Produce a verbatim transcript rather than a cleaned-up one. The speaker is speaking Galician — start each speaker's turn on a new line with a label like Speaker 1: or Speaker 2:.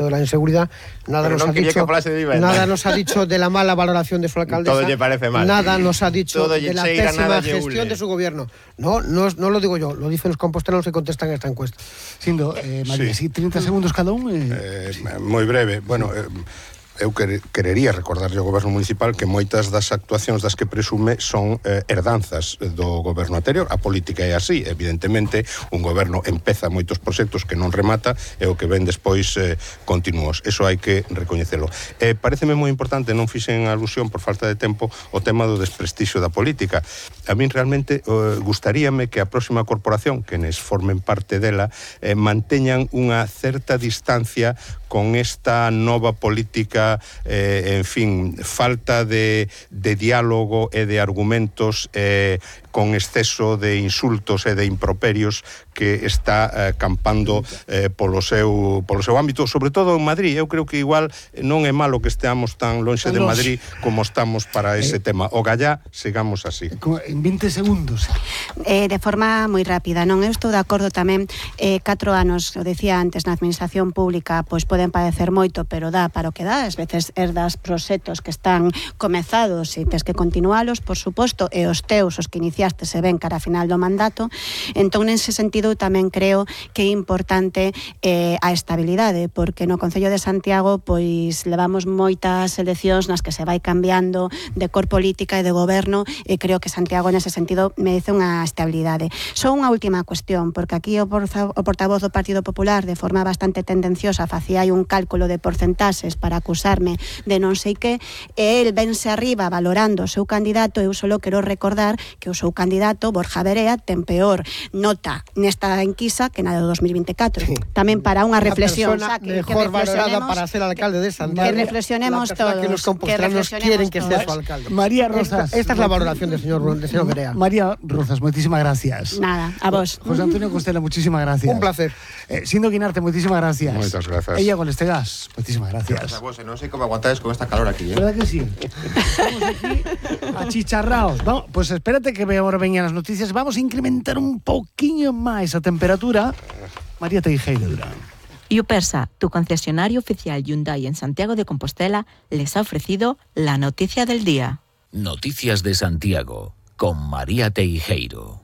Speaker 1: dicho de la inseguridad, nada
Speaker 2: Pero
Speaker 1: nos
Speaker 2: non
Speaker 1: ha
Speaker 2: quería
Speaker 1: dicho,
Speaker 2: que falase de vivenda.
Speaker 1: nada nos ha dicho de la mala valoración de su alcaldesa.
Speaker 2: Todo lle parece mal.
Speaker 1: Nada nos ha dicho
Speaker 2: Todo
Speaker 1: de
Speaker 2: lle
Speaker 1: la
Speaker 2: cheira,
Speaker 1: pésima
Speaker 2: nada lle
Speaker 1: gestión
Speaker 2: ule.
Speaker 1: de su gobierno. No, no, no lo digo yo, lo dicen los compostelanos que contestan esta encuesta.
Speaker 3: Sindo, eh, María,
Speaker 4: Sí.
Speaker 3: sí, treinta segundos cada un. Eh...
Speaker 4: Eh, moi breve. Bueno, eh, eu quer, querería recordarlle ao goberno municipal que moitas das actuacións das que presume son eh, herdanzas do goberno anterior. A política é así, evidentemente un goberno empeza moitos proxectos que non remata e o que ven despois eh, continuos. Eso hai que recoñecelo. Eh, pareceme moi importante, non fixen alusión por falta de tempo, o tema do desprestixio da política. A min realmente eh, gustaríame que a próxima corporación, que nes formen parte dela, eh, manteñan unha certa distancia con esta nova política, eh, en fin, falta de, de diálogo e de argumentos, eh, con exceso de insultos e de improperios que está eh, campando eh, polo seu polo seu ámbito, sobre todo en Madrid. Eu creo que igual non é malo que esteamos tan lonxe de Madrid como estamos para ese eh, tema. O gallá, sigamos así.
Speaker 3: En vinte segundos.
Speaker 5: Eh, de forma moi rápida, non? Eu estou de acordo tamén, eh, catro anos, o decía antes, na administración pública, pois poden padecer moito, pero dá para o que dá. Ás veces herdas proxectos que están comezados e tes que continualos, por suposto, e os teus, os que iniciaste, se ven cara a final do mandato. Entón, nese sentido, tamén creo que é importante eh, a estabilidade, porque no Concello de Santiago pois levamos moitas eleccións nas que se vai cambiando de cor política e de goberno, e creo que Santiago nese sentido merece unha estabilidade. Só unha última cuestión, porque aquí o, porza, o portavoz do Partido Popular, de forma bastante tendenciosa, facía aí un cálculo de porcentaxes para acusarme de non sei que, e el vense arriba valorando o seu candidato. Eu só quero recordar que o seu candidato, Borja Verea, ten peor nota nesta enquisa que na de dos mil vinte e catro. Sí. Tamén para unha reflexión,
Speaker 1: persona
Speaker 5: o sea, que,
Speaker 1: mejor
Speaker 5: que
Speaker 1: valorada para ser alcalde de Santiago.
Speaker 5: Que reflexionemos todos.
Speaker 1: Que los compostelanos
Speaker 5: que
Speaker 1: quieren que sea
Speaker 5: todos.
Speaker 1: su alcalde.
Speaker 3: María Rozas.
Speaker 1: Esta, esta es la valoración del señor, del señor Verea.
Speaker 3: María Rozas, moitísimas gracias.
Speaker 5: Nada, a vos.
Speaker 3: José Antonio Costela, muchísimas gracias.
Speaker 1: Un placer.
Speaker 3: Eh, Sindo Guinarte, moitísimas gracias.
Speaker 4: Moitas grazas.
Speaker 3: Ella con este gas, moitísimas gracias.
Speaker 2: Gracias a vos, non sei como aguantades con esta calor aquí, eh?
Speaker 3: ¿Verdad que sí? Estamos aquí achicharraos. Vamos, pues espérate que ahora veñan as noticias. Vamos a incrementar un poquinho máis a temperatura. María Teijeiro Durán.
Speaker 6: Yupersa, tu concesionario oficial Hyundai en Santiago de Compostela, les ha ofrecido la noticia del día.
Speaker 7: Noticias de Santiago, con María Teijeiro.